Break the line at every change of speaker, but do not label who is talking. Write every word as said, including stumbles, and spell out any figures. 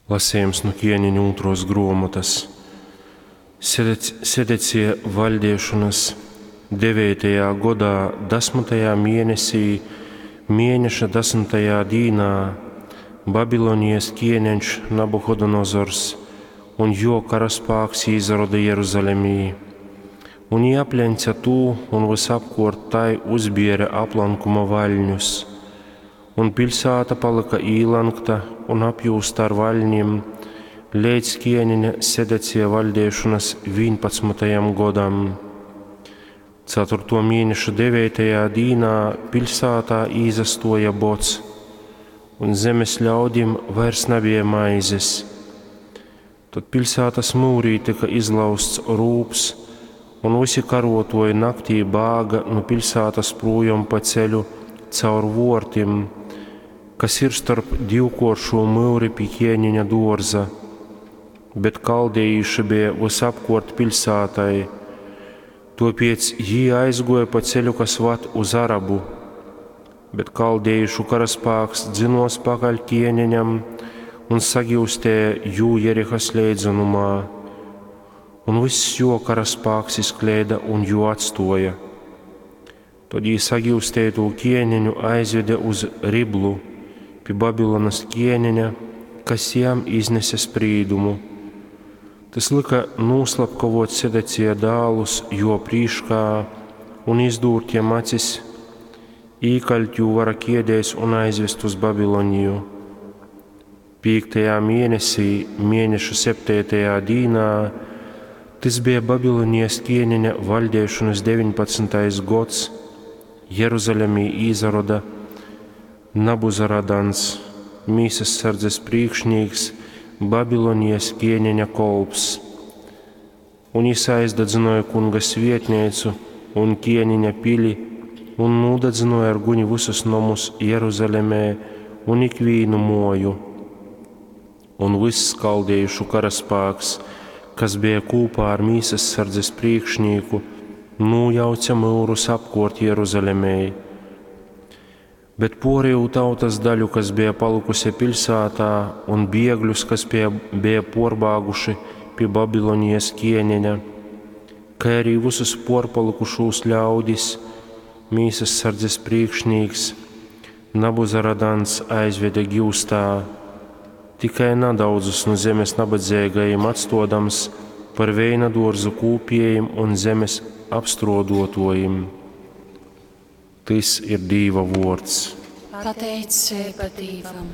Lasejums nu Kieneņu ūtruos gruomotys. Sedecija vaļdeišonys deveitajā godā, dasmytajā mienesī, mieneša dasmytajā dīnā Babilonijas kieneņš Nabuhodonozors un juo karaspāks īsaroda Jeruzalemī. Un jī apleņce tū un vysapkuort tai uzbiere aplankuma vaļņus. Un piļsāta palyka īlankta un apjūzta ar vaļnim leidz kieneņa Sedecija vaļdeišonys vīnpadsmytajam godam. Caturtuo mieneša deveitajā dīnā piļsātā īsastuoja bods, un zemes ļaudim vairs nabeja maizes. Tod piļsātas myurī tyka izlauzts rūbs, un vysi karuotuoji naktī bāga nu piļsātas prūjom pa ceļu caur vuortim, kas ir storp divkuoršū myuri pi ķieniņa duorza. Bet kaldejīši beja vysapkuort piļsātai. Tuopiec jī aizguoja pa ceļu, kas vad uz Arabu. Bet kaldejīšu karaspāks dzynuos pakaļ ķieneņam un sagiustēja jū Jerihas leidzonumā. Un vyss juo karaspāks izkleida un jū atstuoja. Tod jī sagiusteitū ķieneņu aizvede uz Riblu pi Babilonas ķieneņa, kas jam iznese sprīdumu. Tys lyka nūslapkavuot Sedecija dālus juo prīškā un izdūrt jam acis, īkaļt jū vara kiedēs un aizvest uz Babiloniju. Pīktajā mienesī, mieneša septeitajā dīnā, tys beja Babilonijas ķieneņa vaļdeišonys deviņpadsmytais gods, Jeruzalemī īsaroda Nabuzaradans, mīsassardzes prīkšnīks, Babilonijas ķieneņa kolps. Un jis aizdadzynuoja Kunga svietneicu un ķieniņa pili un nūdadzynuoja ar guni vysus nomus Jeruzalemē un ikvīnu muoju. Un vyss kaldejīšu karaspāks, kas beja kūpā ar mīsassardzes prīkšnīku, nūjauce myurus apkuort Jeruzalemei. Bet puorejū tautas daļu, kas beja palykuse piļsātā, un biegļus, kas pie, beja puorbāguši pi Babilonijas ķieneņa, kai arī vysus puorpalykušūs ļaudis, mīsassardzes prīkšnīks Nabuzaradans aizvede giustā, tikai nadaudzus nu zemes nabadzeigajim atstuodams par veina duorzu kūpiejim un zemes apstruoduotuojim. Tys ir Dīva vuords.
Pateiceiba Dīvam.